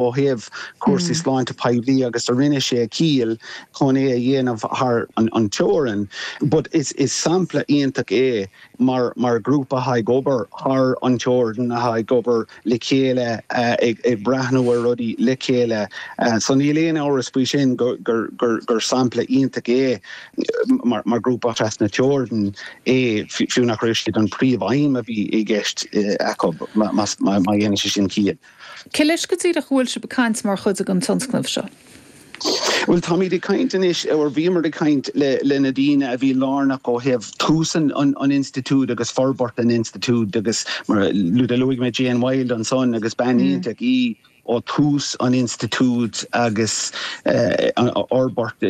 Ó thaobh cúrsaí sláinte poiblí agus a rinne sé ciall chun é a dhéanamh thar an teorainn. But is sampla iontach é mar mar grúpa atá ag obair thar an teorainn, atá ag obair le chéile, ag breathnú ar rudaí le chéile. So níl aon amhras faoi sin gur gur sampla iontach é mar grúpa trasna teorann é, fiú nach raibh siad an príomh-aidhm a bhí i gceist acu, má dhéanann sé sin ciall. Cé leis go díreach a bhfuil sibh ag caint mar chuid den tionscnamh seo? Bhuel, táimid ag caint anois, or bhíomar ag caint le le na daoine a bhí lárnach ó thaobh tús an an institiúid agus forbairt an institiúid agus mar a luaigh mé Jane Wilde ansan agus bean iontach í ó tús an institiúid agus an fhorbairt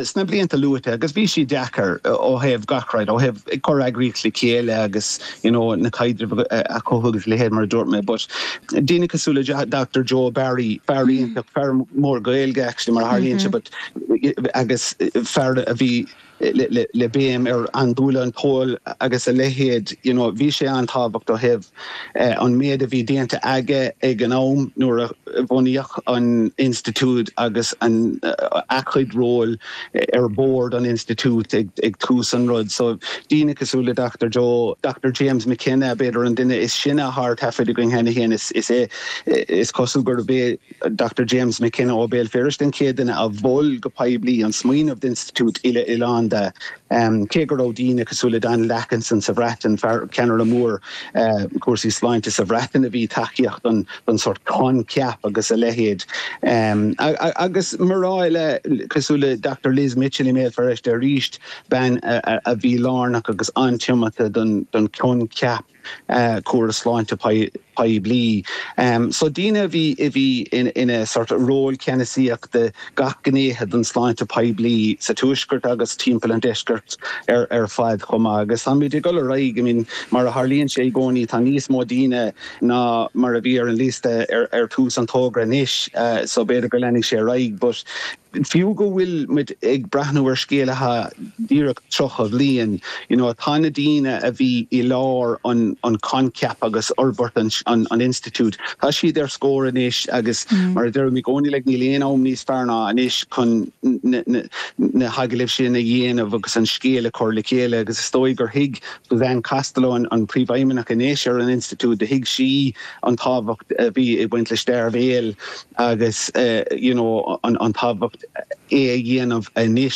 sna blianta luaite agus bhí sí deacair ó thaobh gach rud, ó thaobh ag cur eagraíocht le chéile agus you know na caidrimh a chothú agus a leithéid mar a dúirt mé but daoine cosúil le Dr Joe Barry, fear iontach, fear mór Gaeilge actually mar a tharlaíonn sé but agus fear a bhí le béim ar andúile an t-ól agus a leithéid you know bhí sé an-tábhacht ó thaobh an méid a bhí déanta aige ag an am nuair a bunaíodh an institiúid agus an a chuid ról ar bord an institiúid ag tús an rud. So daoine cosúil le Dr Joe, Dr James McKenna, b'fhéidir an duine is sine atá ar taifead againn cheana féin, is é is cosúil gurb é Dr James McKenna ó Bhéal Feirste an chéad duine a mhol go poiblí an smaoineamh d'institiúid uile-oileánda, cé go raibh daoine cosúil le Donald Atkinson sa Bhreatain, fear ceannaire mór cúrsaí sláinte sa Bhreatain a bhí tacaíocht don don sórt coincheap agus a leithéid. Agus mná eile cosúil le Dr Liz Mitchell i mBéal Feirste arís, bean a bhí lárnach agus an-tiomanta don choincheap córas sláinte poiblí. So daoine a bhí a bhí ina sort ról ceannasaíochta gach gnéithe den sláinte poiblí sa tuaisceart agus timpeall an deiscirt ar fad chomh maith. Agus táimid ag dul ar aghaidh, I mean mar a tharlaíonn sé i gcónaí tá níos mó daoine ná mar a bhí ar an liosta ar tús an togra anois so b'fhéidir go leanfaidh sé ar aghaidh but fiú go bhfuil muid ag breathnú ar scéal atá díreach 30 bhliain you know tá na daoine a bhí i lár an an coincheap agus fhorbairt an an an institiúid tá siad ar scór anois agus mar a deirim i gcónaí like níl aon am níos fearr ná anois chun na na na hagallaimh sin a dhéanamh agus an scéal a chur le chéile agus is dóigh gur thuig Suzanne Costello, an príomhfheidhmeannach anois ar an institiúid, do thuig sí an tábhacht a bhí ag baint le Dearbhéal agus you know an tábhacht é a dhéanamh anois.